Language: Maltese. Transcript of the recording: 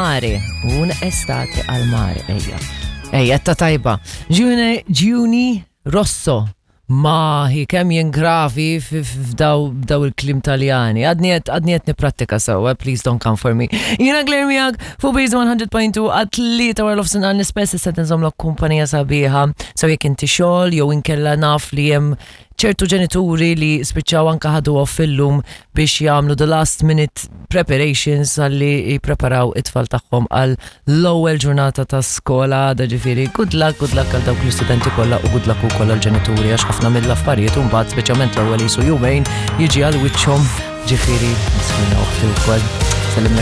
Mare, un estate al mare, ejja. Ejja, ta' tajba. Giuni, Giuni Rosso. Mahi, kemm jien gravi f'daw daw il-klim taljani. Għadni qed għadni qed nipprattika sewwa, please don't come for me. Jiena Claire miegħek fuq Base 100.2 għat-tlieta wara l-ofsinhar nispess issa tinżommlok kumpanija sabiħa. Sew jekk inti xogħol jew inkella naf li hemm ċertu ġenituri li spiċċaw anka ħadu off illum biex jagħmlu the last minute preparations għalli jippreparaw it-tfal tagħhom għal l-ewwel ġurnata ta' skola għada ġifieri good luck, good luck għal dawk l-istudenti kollha u good luck ukoll għal ġenituri għax ħafna mill-affarijiet u mbagħad speċjalment l-ewwel jisu jumejn jiġi għal wiċċhom ġifieri miskina oħti wkoll. Sellimlek.